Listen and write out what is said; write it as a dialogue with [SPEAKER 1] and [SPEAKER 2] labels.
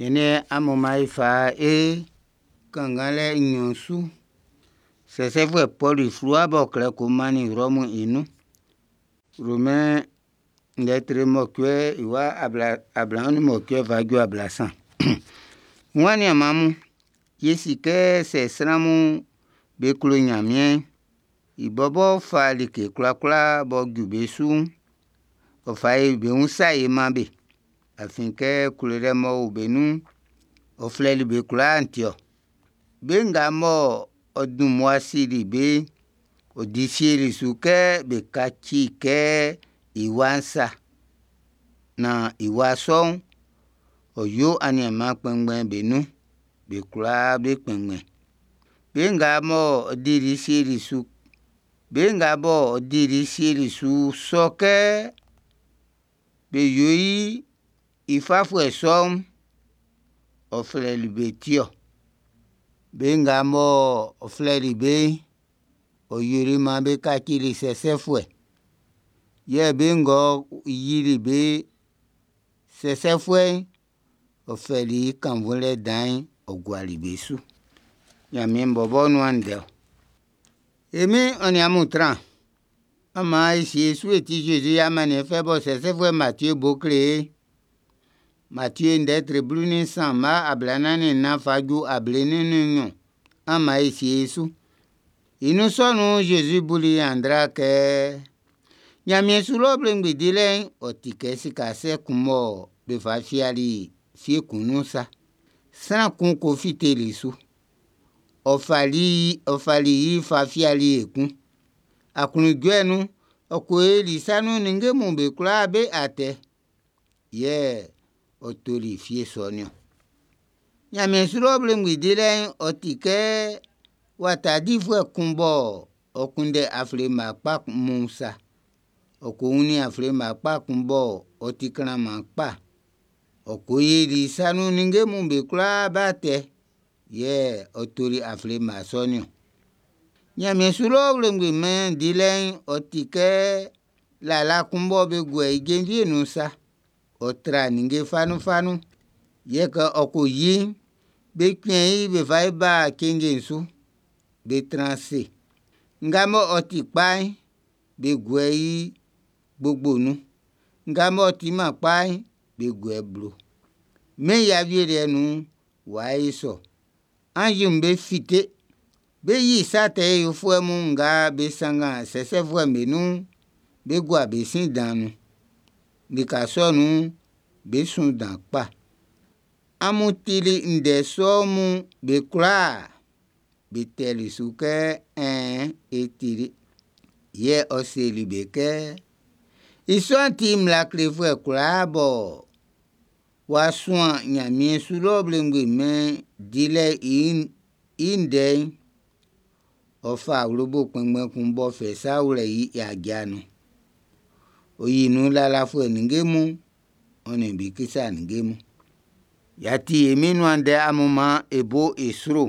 [SPEAKER 1] Siɛn'n, amun maan e fa e kannganlɛ nɲɔn su Sɛsɛfuɛ Pɔlu i fluwa m'ɔ klɛ ko mannin Rɔmu i nun. Romain lɛtri mɔcuɛ i wa 28 fa ju 30. N wa nianman mun, ye si kɛ sɛ sran'm be klo Nyanmiɛn'n, i bɔbɔ fa like kwlakwla b'ɔ ju be su'n, ɔ fa yo be wun sa ye man be. Afin kɛ klolɛ m'ɔ o be nun'n, ɔ flɛli be kwlaa'n ti ɔ. Be nga mɔ ɔ dun mmua sili be'n, ɔ di sieli su kɛ be kaci kɛ i Wa'n sa, naan i Wa sɔ'n, ɔ yo aniaan kpanngban be nun'n, be kwlaa be kpɛnngbɛn. Be nga m'ɔ dili sieli su sɔ kɛ be yo i fafuɛ sɔ'n, ɔ flɛli be ti ɔ. Be nga m'ɔ flɛli be'n, ɔ yoli maan be kacili sɛsɛfuɛ. Yɛ be ng'ɔ yoli be sɛsɛfuɛ'n, ɔ fɛli i kannvunlɛ dan'n ɔ guali be su. Ɲanmiɛn bɔbɔ nuan ndɛ ɔ. E Min'n ɔ nin amun tran. An maan e sie e su e tie Zezi i amanniɛn fɛ mɔ sɛsɛfuɛ Matie bo kle e'n. Matie ndɛ tre 13 mma 44 fa ju 42. An maan e sie e su. I nun sɔ nun'n, Zezi buli ɲanndra kɛ: Ɲanmiɛn su lɔ mɛn dilɛ'n, ɔ ti kɛ sika sɛ kun mɔ be fa fiali fie kun nun'n sa. Sran kun ko fiteli su. Ɔ fali yi fa fiali ekun. Aklunjuɛ nun'n, ɔ ko yoli i sa nun ninnge'm be kwlaa be atɛ, yɛ ɔ toli fie sɔ'n niɔn. Ɲanmiɛn su lɔ mɛn dilɛ'n, ɔ ti kɛ wata difuɛ kun m'ɔ kunndɛ afle mma kpa mun'n sa. Ɔ ko wunnin afle mma kpa kun m'ɔ ti klanman kpa'n. Ɔ ko yili i sa nun ninnge'm be kwlaa be atɛ, yɛ ɔ toli afle mma sɔ'n niɔn. Ɲanmiɛn su lɔ mɛn dilɛ'n, ɔ ti kɛ lala kun mɔ be guɛ i jenvie'n nun'n sa. Ɔ tra ninnge fanunfanun. Yɛ kɛ ɔ ko yi'n, be cuɛn i be fa ba cenje'n su, be tran ase. Nga m'ɔ ti kpa'n, be guɛ i gbogbo'n nun. Nga m'ɔ timan kpa'n, be guɛ i blo. Mɛn'n i awieliɛ'n nun'n, w'a yo sɔ. Anzi'm bé fíte, bé yí sa tɛ yofuɛ mun nga be sanngan sɛsɛfuɛ'm be nun'n, bé gúa be sin dan'n nun. Lika sɔ'n nun'n, bé sún dan kpa. Amun tili ndɛ sɔ mun be kwlaa? Be tɛli su kɛ, Ɛɛn, e tili. Yɛ ɔ seli be kɛ: I sɔ'n ti mmla klefuɛ kwlaa b'ɔ wa suan Ɲanmiɛn su lɔ mɛn dilɛ'n i ndɛ'n, ɔ fa awlobo kpɛnngbɛn kun m'ɔ fɛ sa wlɛ i aja nun'n. Ɔ yi nun lalafuɛ ninnge mun, ɔ nin bikisa ninnge mun. Y'a ti e Min'n i nuan ndɛ, amun maan e bo i sro.